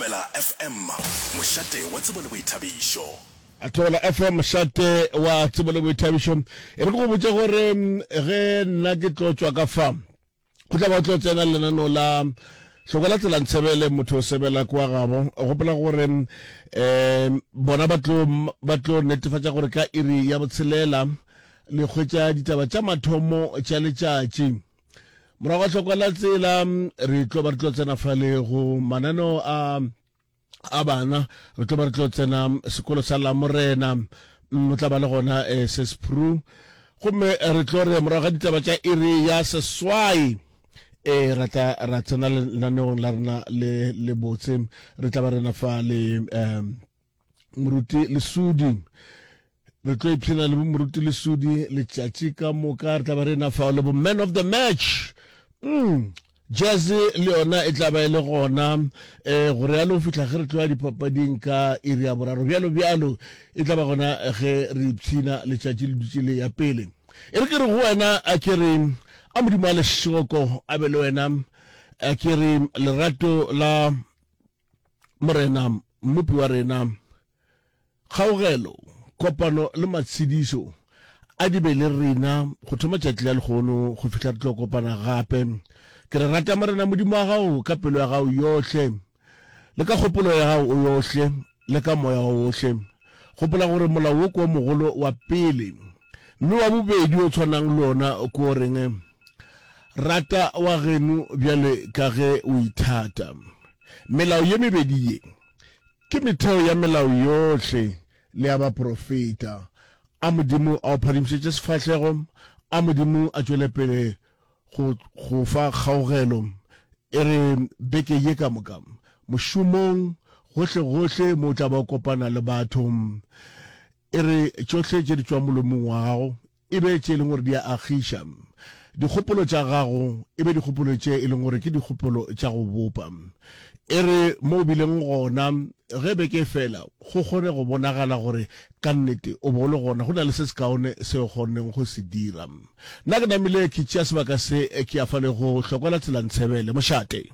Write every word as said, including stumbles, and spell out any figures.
Thobela F M, mošate wa tsebo le boithabišo. Thobela F M, mošate wa tsebo le boithabišo. E re ke go botše gore ge nna ke tlo tšwa ka fa, go tla ba o tlo tsena lenaneo la Hloko la Tsela Ntshebele, motho o sebela kwa gabo. Gopola gore um bona ba tlo ba tlo netefatša gore ka iri ya botshelela le hwetša ditaba tša mathomo tša letšatši. Morago ga Hloko la Tsela re tlo ba re tlo tsena fale go mananeo a a bana, re tlo ba re tlo tsena sekolo sa Lamorena, o tla ba le gona eh, Sespru, gomme re tlo re morago ga ditaba tša iri ya seswai e ra tla ra tsena lenaneong la rena le le botse. Re tla ba rena fa le um Moruti Lesudi, re tlo ipshina le Moruti Lesudi letšatši ka moka. Re tla ba rena fa le bo man of the match, mm. Jazz le yona e tla ba e le gona um gore yalo go fihla ge re tloya dipapading ka iri ya boraro, bjalo bjalo. E tla ba gona ge re ipshina letšatši le dutše le ya pele. E re ke re go wena, a ke re a Modimo a lešoko a be le wena, a ke re lerato la Morena Mmopi wa rena, kgaogelo, kopano le matshedišo a di be le rena go thoma tšatši la lehono go fihla re tlo kopana gape. Ke re rata Morena Modimo wa gago ka pelo ya gago yohle, le ka kgopolo ya gago yohle, le ka moya wa wohle. Gopola gore molao wo ke o mogolo wa pele, mme wa bobedi o tshwanang le ona ke o reng: rata wa geno bjale ka ge o ithata. Melao ye mebedi ye ke metheo ya melao yohle le ya baprofeta. A Modimo a o phadimišetše sefahlego, a Modimo a tšwele pele go go fa kgaogelo. E re beke ye ka moka, mošomong, gohle gohle mo o tla ba o kopana le batho, e re tšohle tše di tšwang molomong wa gago e be tše e leng gore di a agiša. Dikgopolo tša gago e be dikgopolo tše e leng gore ke dikgopolo tša go bopa. E re mo o bileng gona ge beke e fela, go kgone go bonagala gore ka nnete o bo o le gona, go na le se sekaone se o kgonneng go se dira. Nna ke namile ke tšea sebaka se ke ya fa le go Hlokwela Tsela Ntshebele. Mošate.